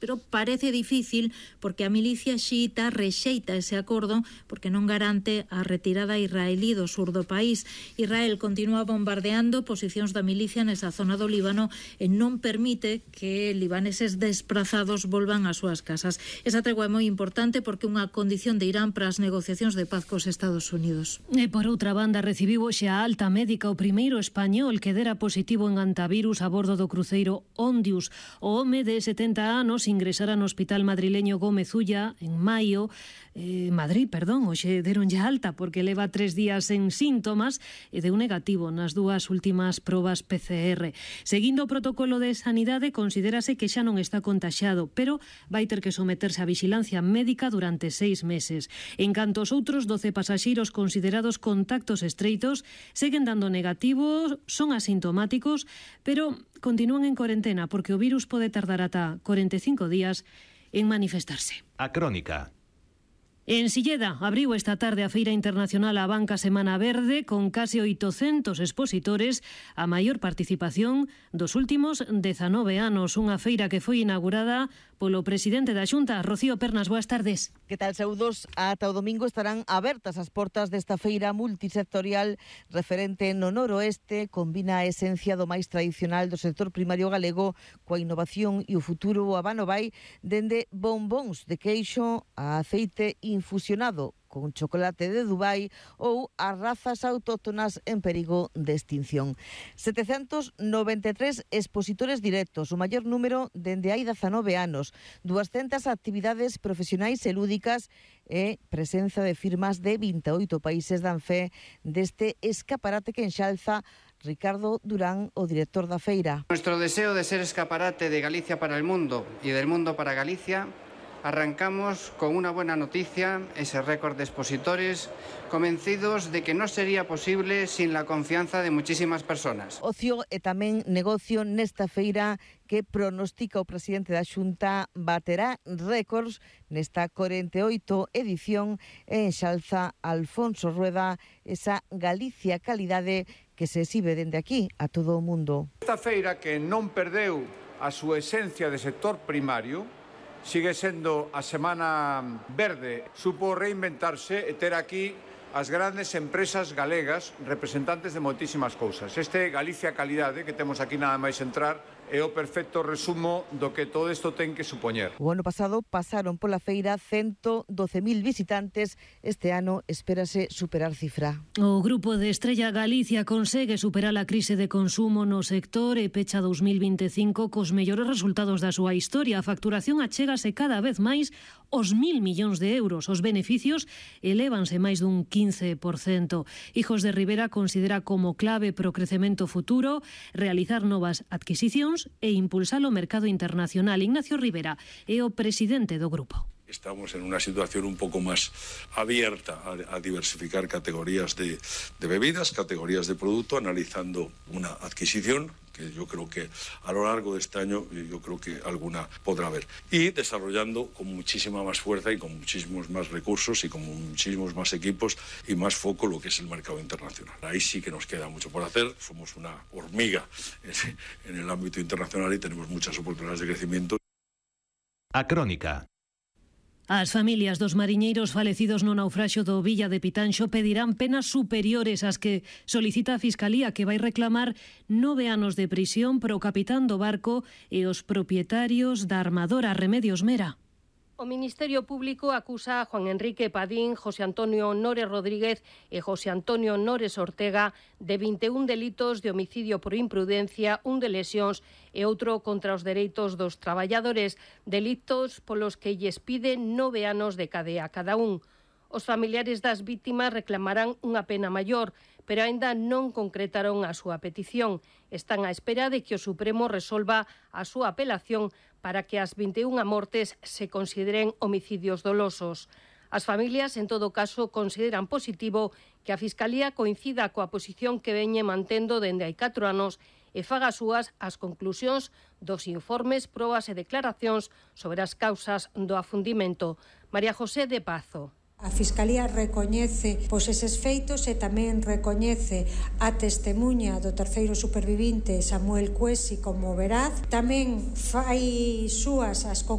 pero parece difícil porque a milicia xiita rexeita ese acordo porque non garante a retirada israelí do sur do país. Israel continúa bombardeando posicións da milicia nesa zona do Líbano e non permite que libaneses desprazados volvan ás súas casas. Esa tregua é moi importante porque é unha condición de Irán para as negociacións de paz cos Estados Unidos. E por outra banda, recibiu hoxe a alta médica o primeiro español que dera positivo en antivirus a bordo do cruceiro Ondius. O home de 70 anos ingresara no hospital madrileño Gómez Ulla en maio, hoxe deron ya alta porque leva 3 días sen síntomas e deu negativo nas dúas últimas probas PCR. Seguindo o protocolo de sanidade, considérase que xa non está contaxiado, pero vai ter que someterse a vixilancia médica durante 6 meses. En canto os outros 12 pasaxeiros considerados contactos estreitos seguen dando negativos, son asintomáticos, pero continúan en cuarentena porque o virus pode tardar ata 45 días en manifestarse. A Crónica. En Silleda abriu esta tarde a Feira Internacional A Banca Semana Verde con case 800 expositores, a maior participación dos últimos 19 anos. Unha feira que foi inaugurada polo presidente da Xunta, Rocío Pernas. Boas tardes. Que tal, saúdos? Ata o domingo estarán abertas as portas desta feira multisectorial referente no noroeste, combina a esencia do máis tradicional do sector primario galego coa innovación e o futuro abano vai dende bombóns de queixo a aceite infusionado con chocolate de Dubai ou as razas autóctonas en perigo de extinción. 793 expositores directos, o maior número dende hai 19 anos, 200 actividades profesionais e lúdicas e presenza de firmas de 28 países dan fe deste escaparate que enxalza Ricardo Durán, o director da feira. Nuestro deseo de ser escaparate de Galicia para el mundo y del mundo para Galicia. Arrancamos con una buena noticia, ese récord de expositores, convencidos de que no sería posible sin la confianza de muchísimas personas. Ocio e tamén negocio nesta feira que pronostica o presidente da Xunta baterá récords nesta 48 edición e enxalza Alfonso Rueda esa Galicia calidade que se exhibe dende aquí a todo o mundo. Esta feira que non perdeu a súa esencia de sector primario, sigue sendo a Semana Verde, supo reinventarse e ter aquí as grandes empresas galegas representantes de moitísimas cousas. Este Galicia Calidade que temos aquí nada máis entrar é o perfecto resumo do que todo isto ten que supoñer. O ano pasado pasaron pola feira 112.000 visitantes, este ano espérase superar cifra. O grupo de Estrella Galicia consegue superar a crise de consumo no sector e pecha 2025 cos mellores resultados da súa historia. A facturación achégase cada vez máis aos 1.000 millóns de euros. Os beneficios elévanse máis dun 15%. Hijos de Rivera considera como clave para o crecemento futuro realizar novas adquisicións e impulsar o mercado internacional. Ignacio Rivera é o presidente do grupo. Estamos en una situación un poco más abierta a diversificar categorías de bebidas, categorías de producto, analizando una adquisición que yo creo que a lo largo de este año yo creo que alguna podrá haber, y desarrollando con muchísima más fuerza y con muchísimos más recursos y con muchísimos más equipos y más foco lo que es el mercado internacional. Ahí sí que nos queda mucho por hacer, somos una hormiga en el ámbito internacional y tenemos muchas oportunidades de crecimiento. A Crónica. As familias dos mariñeiros falecidos no naufraxio do Villa de Pitanxo pedirán penas superiores ás que solicita a Fiscalía, que vai reclamar 9 anos de prisión para o capitán do barco e os propietarios da armadora Remedios Mera. O Ministerio Público acusa a Juan Enrique Padín, José Antonio Nores Rodríguez e José Antonio Nores Ortega de 21 delitos de homicidio por imprudencia, un de lesións e outro contra os dereitos dos traballadores, delitos polos que lles pide 9 anos de cadea cada un. Os familiares das vítimas reclamarán unha pena maior, pero aínda non concretaron a súa petición. Están á espera de que o Supremo resolva a súa apelación para que as 21 mortes se consideren homicidios dolosos. As familias, en todo caso, consideran positivo que a Fiscalía coincida coa posición que veñe mantendo dende hai 4 anos e faga súas as conclusións dos informes, probas e declaracións sobre as causas do afundimento. María José de Pazo. A Fiscalía recoñece eses feitos e tamén recoñece a testemuña do terceiro supervivinte Samuel Cuesi como veraz. Tamén fai súas as